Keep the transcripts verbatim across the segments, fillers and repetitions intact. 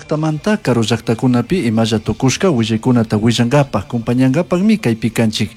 llaktamanta karu llaktakunapi imalla tukushka willaykunata willankapak kumpañankapakmi kaypi kanchik.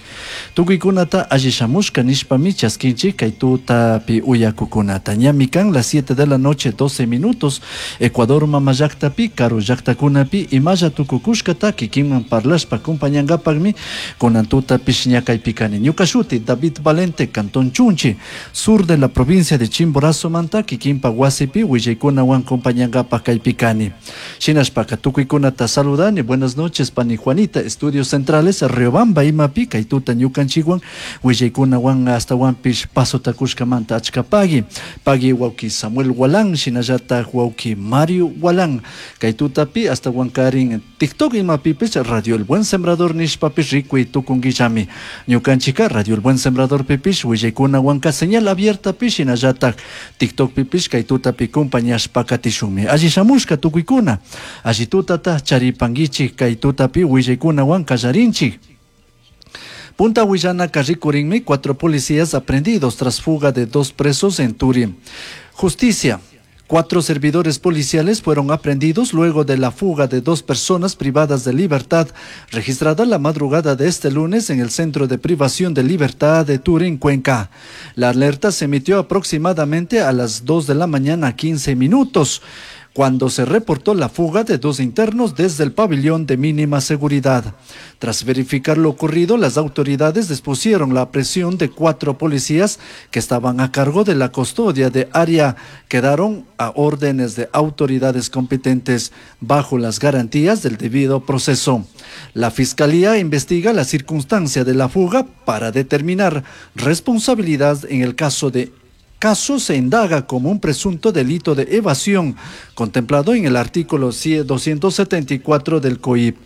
Tukuykunata alli shamushka nishpami chaskinchik kay tutapi uyakukunata. Ñami kan las siete de la noche doce minutos Ecuador mama llaktapi karu llaktakunapi imalla tukukushkata kikinman parlashpa kumpañankapakmi kunan tutapish ña kaypi kani. Ñuka shuti David Valente, Cantón Chunchi, sur de la provincia de Chimborazo manta kikinpa wasipi willaykunawan kumpañankapak kaypi kani. Shinashpaka tukuykunata saludani. Buenas noches, pani Juanita, Estudios Centrales, Riobamba imapi kay tuta ñukanchikwan willaykunawan astawanpish pasota kushkamanta achka pagui. Pagui wawki Samuel Walán, shinallatak wawki Mario Walán. Kay tutapi astawankarin TikTok imapipish Radio El Buen Sembrador nishpapish rikuy tukunkillami. Ñukanchika Radio El Buen Sembrador pipish willaykunawanka señal abierta pish shinallatak TikTok pipish kay tutapi kumpañashpa katishunmi. Alli shamushka tukuykuna. Alli tutata charipankichik kay tutapi willaykunawan kallarinchik. Punta Huillana rikurinmi, cuatro policías aprehendidos tras fuga de dos presos en Turi. Justicia. Cuatro servidores policiales fueron aprehendidos luego de la fuga de dos personas privadas de libertad, registrada la madrugada de este lunes en el Centro de Privación de Libertad de Turín, Cuenca. La alerta se emitió aproximadamente a las dos de la mañana, quince minutos, cuando se reportó la fuga de dos internos desde el pabellón de mínima seguridad. Tras verificar lo ocurrido, las autoridades dispusieron la presión de cuatro policías que estaban a cargo de la custodia de área. Quedaron a órdenes de autoridades competentes bajo las garantías del debido proceso. La fiscalía investiga la circunstancia de la fuga para determinar responsabilidad en el caso de caso se indaga como un presunto delito de evasión contemplado en el artículo doscientos setenta y cuatro del C O I P.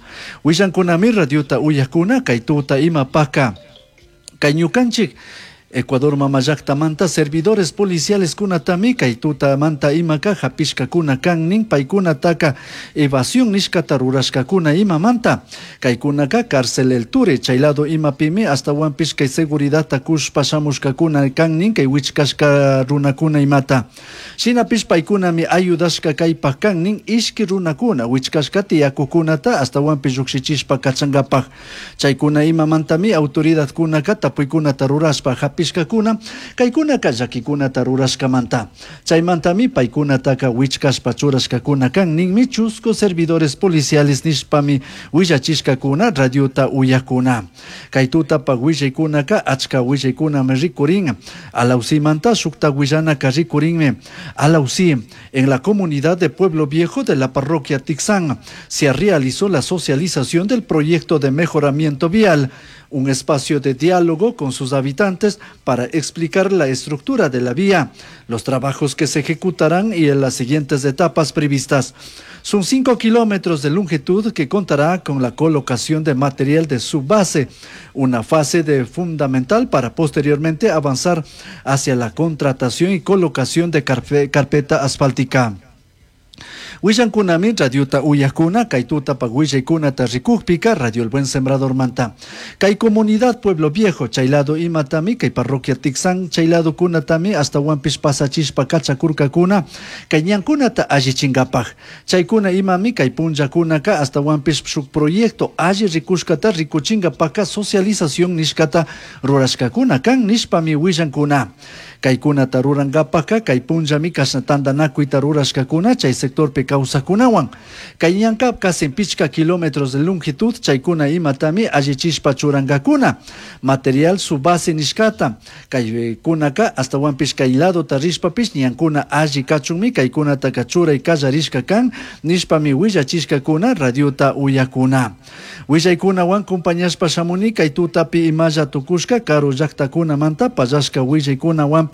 Willankunami radiota uyakuna kaytuta imapaka. Kayñukanchik Ecuador mama llaktamanta servidores policiales kunatami kaytuta manta imaka hapishkakuna kan nin paykunataka evasión nishkata rurashkakuna imamanta. Kaykunaka cárcel El Ture chaylado imapimi astawanpish kay seguridadta kushpa shamushkakuna kan nin kay wichkashka runakuna imata. Shinapish paykunami ayudashka kaypak kan nin ishki runakuna wichkashka tiyakukunata astawanpish llukshichishpa kachankapak. Chaykuna imamantami autoridadkunaka tapuykunata rurashpa hapishkakuna kaykunaka llakikunata rurashkamanta. Chaymantami paykunataka wichkashpa churashkakuna kan ninmi chusku servidores policiales nishpami willachishkakuna radiota uyakuna. Kay tutapa willaykunaka achka willaykunami rikurin. Alausimanta shukta willanaka rikurinmi. Alausí, en la comunidad de Pueblo Viejo de la parroquia Tixán, se realizó la socialización del proyecto de mejoramiento vial, un espacio de diálogo con sus habitantes para explicar la estructura de la vía, los trabajos que se ejecutarán y en las siguientes etapas previstas. Son cinco kilómetros de longitud que contará con la colocación de material de subbase, una fase de fundamental para posteriormente avanzar hacia la contratación y colocación de carpe-, carpeta asfáltica. Willankunami radiota uyakuna, kaytuta pa willaykunata rikukpika, Radio El Buen Sembrador manta. Kay comunidad Pueblo Viejo, chaylado imatami, kay parroquia Tixán, chaylado kunatami, hasta huampish pasachishpa kachakurkakuna, kay ñankunata allichinkapaj. Chaykuna imami, kay punllakunaka, hasta huampish shuk proyecto alli rikushkata rikuchinkapaka socialización nishkata rurashkakuna kan nishpami willankuna. Kaykunata rurankapaka, kay punllami kashna tantanakuyta rurashkakuna, chay sectorpi kawsakunawan. Kay ñanka casi pichka kilómetros de longitud, chaykuna imatami allichishpa churankakuna. Material subbase nishkata. Kaykunaka astawanpish kay lado tarishpapish ñankuna alli kachunmi kaykunataka churay kallarishka kan nishpami willachishkakuna radiota uyakuna. Willaykunawan kumpañashpa shamuni kay tutapi imalla tukushka karu llaktakunamanta pallashka willaykunawanpish.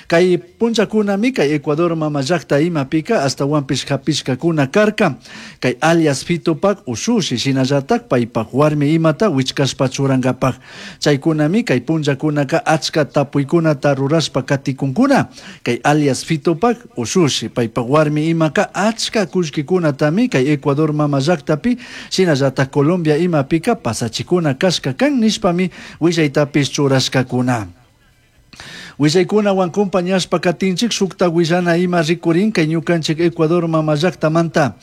Kay punllakunami kay Ecuador mama llakta imapika astawanpish hapishkakuna karka. Kay alias Fitopak ushushi shinallatak paypak warmi imata wichkashpa churankapak. Chaykunami kay punllakunaka achka tapuykunata rurashpa katikunkuna. Kay alias Fitopak ushushi paypak warmi imaka achka kullkikunatami kay Ecuador mama llaktapi shinallatak Colombia imapika pasachikuna kashka kan nishpami willaytapish churashkakuna. Willaykunawan kumpañashpa katinchik shukta willana ima rikurin kay ñukanchik Ecuador mama llaktamanta.